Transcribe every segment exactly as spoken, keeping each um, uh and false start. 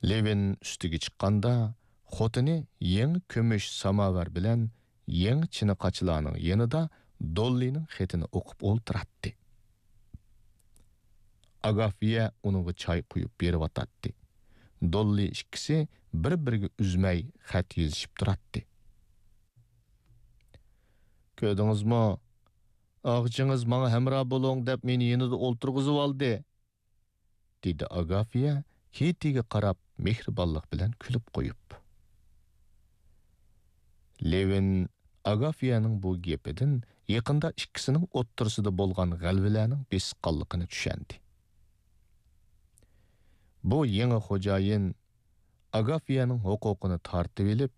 لېۋىن ئۈستىگە چىققاندا، خوتۇنى يېڭى كۈمۈش ساماۋار بىلەن يېڭى چىنە قاچىلارنىڭ يېنىدا دوللىنىڭ خېتىنى ئوقۇپ ئولتۇراتتى. ئاگافىيە ئۇنىڭغا چاي قۇيۇپ بېرىۋاتاتتى. دوللى ئىككىسى بىر-بىرىگە ئۈزمەي خەت يېزىشىپ تۇراتتى. «كۆردىڭىزمۇ؟ ئاغىچىڭىز ماڭا ھەمراھ بولۇڭ دەپ مېنى يېنىدا ئولتۇرغۇزۇۋالدى»، دېدى ئاگافىيە كېتىگە قاراپ مېھرىبانلىق بىلەن كۈلۈپ قويۇپ. لېۋىن ئاگافىيەنىڭ بۇ گېپىدىن يېقىندا ئىككىسىنىڭ ئوتتۇرىسىدا بولغان غەلۋىلەرنىڭ بېسىققانلىقىنى چۈشەندى. بۇ يېڭى خوجايىن ئاگافىيەنىڭ ھوقۇقىنى تارتىۋېلىپ،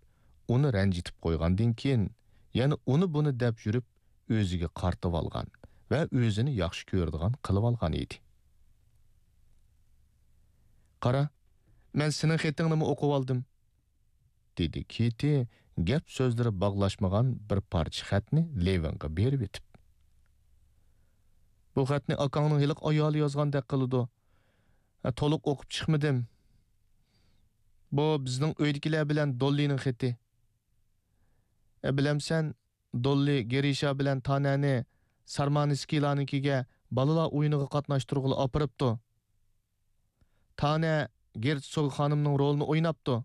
ئۇنى رەنجىتىپ قويغاندىن كېيىن، يەنە ئۇنى بۇنى دەپ يۈرۈپ، ئۆزىگە قارىتىۋالغان ۋە ئۆزىنى ياخشى كۆرىدىغان قىلىۋالغان ئىدى. «قارا، مەن سېنىڭ خېتىڭنىمۇ ئوقۇۋالدىم»، دېدى كېتى گەپ سۆزلىرى باغلاشمىغان بىر پارچە خەتنى لېۋىنغا بېرىۋېتىپ. «بۇ خەتنى ئاكاڭنىڭ ھېلىقى ئايالى يازغاندەك قىلىدۇ. ھە، تولۇق ئوقۇپ چىقمىدىم. بۇ بىزنىڭ ئۆيدىكىلەر بىلەن دوللىنىڭ خېتى. ھە، بىلەمسەن، دوللى گېرىشا بىلەن تانەنى سارمانسكىيلارنىڭكىگە بالىلار ئويۇنىغا قاتناشتۇرغىلى ئاپىرىپتۇ. تانە گېرتسوگ خانىمنىڭ رولىنى ئويناپتۇ.»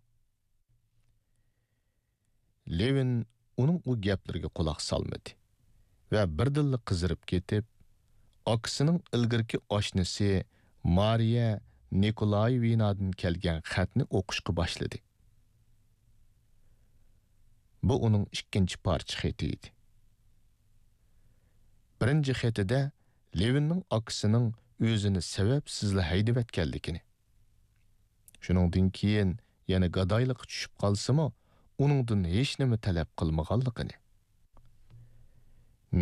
لېۋىن ئۇنىڭ ئۇ گەپلىرىگە قۇلاق سالمىدى ۋە بىردىنلا قىزىرىپ كېتىپ، ئاكىسىنىڭ ئىلگىرىكى ئاشنىسى مارىيە نىكولايېۋنادىن كەلگەن خەتنى ئوقۇشقا باشلىدى. بۇ ئۇنىڭ ئىككىنچى پارچە خېتى ئىدى. بىرىنچى خېتىدە لېۋىننىڭ ئاكىسىنىڭ ئۆزىنى سەۋەبسىزلا ھەيدىۋەتكەنلىكىنى، شۇنىڭدىن كېيىن يەنە گادايلىققا چۈشۈپ قالسىمۇ، ئۇنىڭدىن ھېچنېمە تەلەپ قىلمىغانلىقىنى،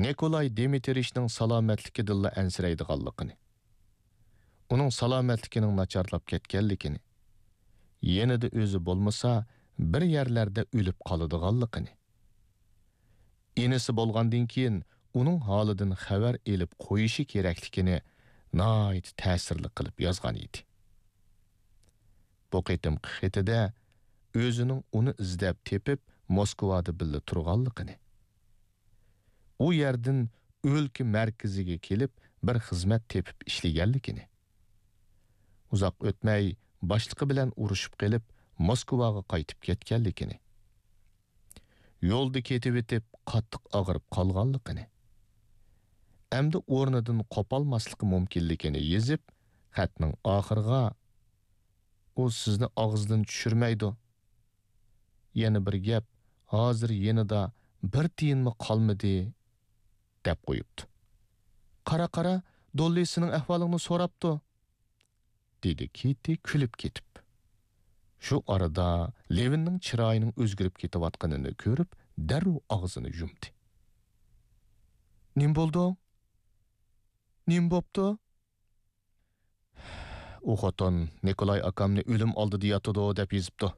نىكولاي دىمىترىچنىڭ سالامەتلىكىدىنلا ئەنسىرەيدىغانلىقىنى، ئۇنىڭ سالامەتلىكىنىڭ ناچارلاپ كەتكەنلىكىنى، يېنىدا ئۆزى بولمىسا، بىر يەرلەردە ئۆلۈپ قالىدىغانلىقىنى، ئىنىسى بولغاندىن كېيىن ئۇنىڭ ھالىدىن خەۋەر ئېلىپ قويۇشى كېرەكلىكىنى ناھايىتى تەسىرلىك قىلىپ يازغان ئىدى. بۇ قېتىمقى خېتىدە ئۆزىنىڭ ئۇنى ئىزدەپ تېپىپ، موسكۋادا بىللە تۇرغانلىقىنى، ئۇ يەردىن ئۆلكە مەركىزىگە كېلىپ، بىر خىزمەت تېپىپ ئىشلىگەنلىكىنى، ئۇزاق ئۆتمەي باشلىقى بىلەن ئۇرۇشۇپ قېلىپ، موسكۋاغا قايتىپ كەتكەنلىكىنى، يولدا كېتىۋېتىپ قاتتىق ئاغرىپ قالغانلىقىنى، ئەمدى ئورنىدىن قوپالماسلىقى مۇمكىنلىكىنى يېزىپ، خەتنىڭ ئاخىرىغا، «ئۇ سىزنى ئاغزىدىن چۈشۈرمەيدۇ. يەنە بىر گەپ، ھازىر يېنىدا بىر تىيىنمۇ قالمىدى» دەپ قويۇپتۇ. «قارا، قارا، دوللى سېنىڭ ئەھۋالىڭنى سوراپتۇ»، دېدى كىتى كۈلۈپ كېتىپ. شۇ ئارىدا لېۋىننىڭ چىرايىنىڭ ئۆزگىرىپ كېتىۋاتقىنىنى كۆرۈپ، دەررۇ ئاغزىنى يۇمدى. «نېمە بولدۇڭ؟ نېمە بوپتۇ؟» «ئۇ خوتۇن نىكولاي ئاكامنى ئۆلۈم ئالدىدا ياتىدۇ دەپ يېزىپتۇ.